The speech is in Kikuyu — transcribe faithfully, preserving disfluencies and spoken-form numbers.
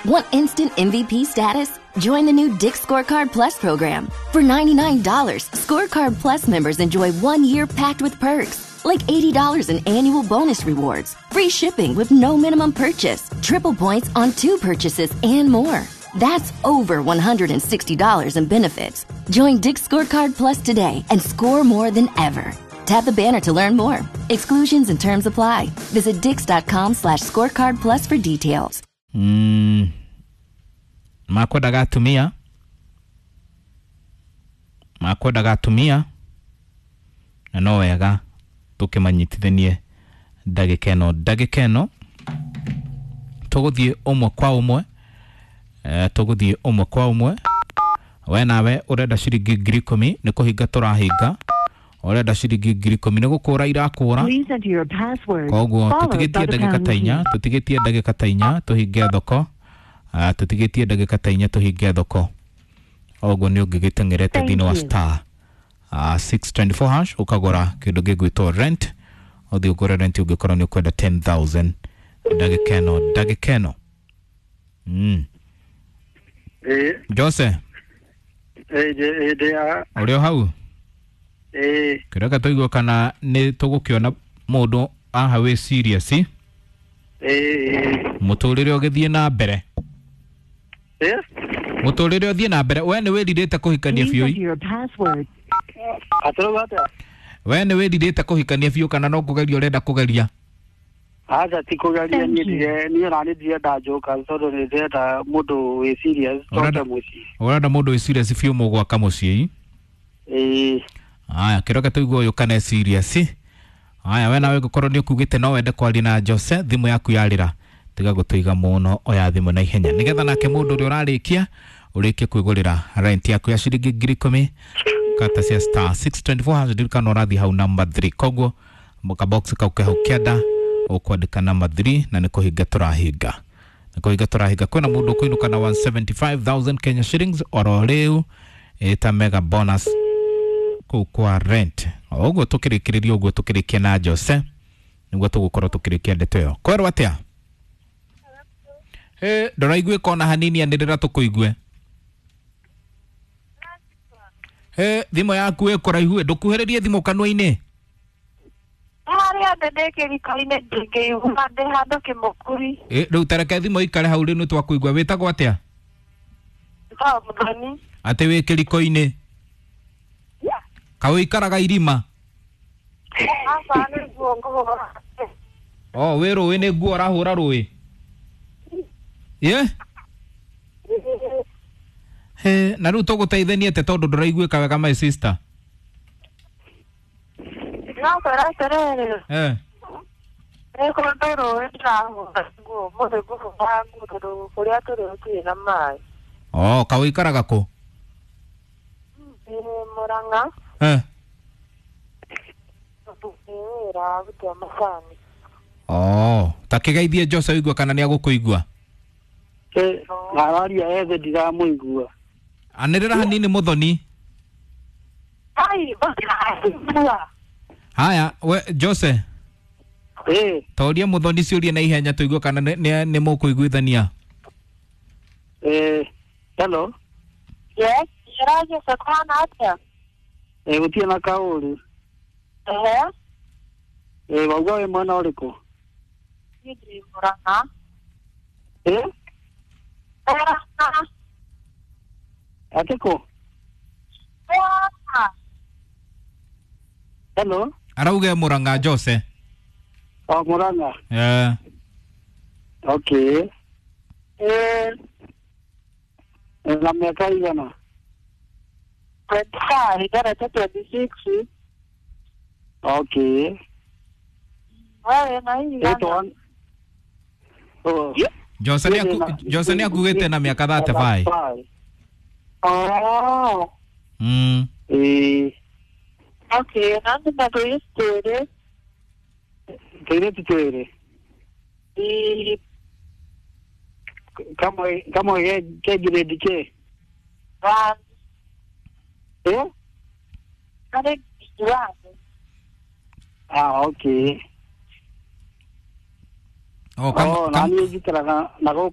Want instant M V P status? Join the new Dick's Scorecard Plus program. For ninety-nine dollars, Scorecard Plus members enjoy one year packed with perks, like eighty dollars in annual bonus rewards, free shipping with no minimum purchase, triple points on two purchases, and more. That's over one hundred sixty dollars in benefits. Join Dick's Scorecard Plus today and score more than ever. Tap the banner to learn more. Exclusions and terms apply. Visit dicks.com slash scorecard plus for details. Mm. Makwendaga atumia makwendaga atumia na no wega tukimanyitithanie ndagika ĩno ndagika ĩno tũgũthiĩ ũmwe kwa ũmwe eh, tũgũthiĩ ũmwe kwa ũmwe. We nawe ũrenda ciringi ngiri ikũmi nĩ kũhinga tũrahinga, ũrenda ciringi ngiri ikũmi nĩ gũkũra irakũra, koguo tũtigĩtie ndagĩka ta inya tũtigĩtie ndagĩka ta inya tũhinge thoko, uh, tũtigĩtie ndagĩka ta inya tũhinge thoko. Oguo nĩ ũngĩgĩteng'erete thĩinĩ wa star uh, six twenty-four hash ũkagũra kĩndũ gĩgwĩtwo rent, ũthiĩ ũgũre rent ũngĩkorwo nĩ ũkwenda ten thousand ndagĩka ĩno ndagĩka ĩno. Mm. Eh, Jose eh, eh, eh, ũrĩ o hau? Eh, kĩreka tũigue kana nĩ tũgũkĩona mũndũ aha wĩ serious eh, eh, mũtũrĩre ũgĩthiĩ na mbere eh, mũtũrĩre ũthiĩ na mbere. We nĩ wĩrirĩte kũhikania biũ? Atũrauga atĩa? We nĩ wĩrirĩte kũhikania biũ kana no kũgeria ũrenda kũgeria? Aca ti kũgeria, niĩ ndirĩ niĩ ona niĩ ndirenda njoka tondũ nĩ ndĩrenda mũndũ wĩ serious Ũrenda twake mũciĩ. ũrenda mũndũ wĩ serious biũ mũgwaka mũciĩ? Ĩĩ. Aya, kĩroke tũigue ũyũ kana e serious. Aya, we nawe ngũkorwo nĩ ũkugĩte no wende kwaria na Jose, thimũ yaku yarĩra tiga gũtũiga mũno, oya thimũ na ihenya nĩgetha nake mũndũ ũrĩa ũrarĩkia ũrĩkie kwĩgũrĩra rent yaku ya ciringi ngiri ikũmi kata cia star six twenty-four hash. Ndirikana ũrathiĩ hau number three, koguo kabox kau ke hau kĩanda ũkwandĩka number three na nĩ kũhinga tũrahinga nĩ kũhinga tũrahinga. Kwĩna mũndũ ũkũinũka na one seventy-five thousand Kenya shillings oro rĩu ĩta mega bonus kũu kwa rent. O ũguo tũkĩrĩkĩrĩria ũguo tũkĩrĩkia na Jose nĩguo tũgũkorwo tũkĩrĩkia ndeto ĩyo. Kwerwo atĩa? Ĩ, ndũraiguĩka ona hanini, anĩrĩra tũkũigue. Ĩ, thimũ yaku ĩ kũraihu ĩ, ndũkuhĩrĩrie thimũ kanua-inĩ. Harĩa thĩ ndĩ kĩriko-inĩ ndingĩigua ndĩ handũ kĩmũkuri. Ĩ, rĩu tareke thimũ ikare hau rĩu nĩtwakũigua. Wĩtagwo atĩa? Njĩtagwo Mũthoni. Atĩ wĩ kĩriko-inĩ? Kaĩ ũikaraga irima? Aca nĩ nguo ngũhũra. O, wĩ rũĩ nĩ nguo ũrahũra rũĩ? Ĩ? He, na rĩu tũgũteithania atĩa tondũ ndũraiguĩka wega my sister? No kwĩra atĩrĩrĩ, Eh. nĩ kũndũ rũĩ ndĩrahũra nguo, ũmũthĩ ngũhũra nguo tondũ kũrĩa tũrĩ gũtirĩ na maĩ. O, kaĩ ũikaraga kũ? Ndĩ Mũrang'a. Eh. Ndĩ wĩra wa gũtua macani. O, ta kĩgeithie Jose ũigue kana nĩ agũkũigua. Eh, araria ethe ndiramũigua. Anĩrĩra hanini Mũthoni. Ai, ndiraigua. Haya, we Jose. Eh. Toria Mũthoni ciũria na ihenya tũigue kana nĩ nĩ mũkũiguithania. Eh, hello. Yes, njĩra Jose kũhana atĩa? Eh, gũtirĩ na kaũru. Ehe. Eh, wauga wĩ mwena ũrĩkũ? Niĩ ndĩ Mũrang'a. Eh? Mũrang'a. Atĩ kũ? Mũrang'a. Hello. Arauga Mũrang'a Jose. O, Mũrang'a. Eh. Okay. Eh. Na mĩaka igana? twenty-five, ndarete twenty-six. Okay. We wĩna igana? Oh. Jose nĩ aku Jose nĩ akugĩte na mĩaka thirty-five. Oh. Mm. Eh. Okay, na ndĩ na tũirĩtu twĩrĩ. Tũirĩtu twĩrĩ? Ĩĩ. Kamwe kamwe ke ke grade kĩ? One. Eh? Karĩ one. Ah, okay. Oh, kam, Oh, na kam, niĩ njikaraga na gũkũ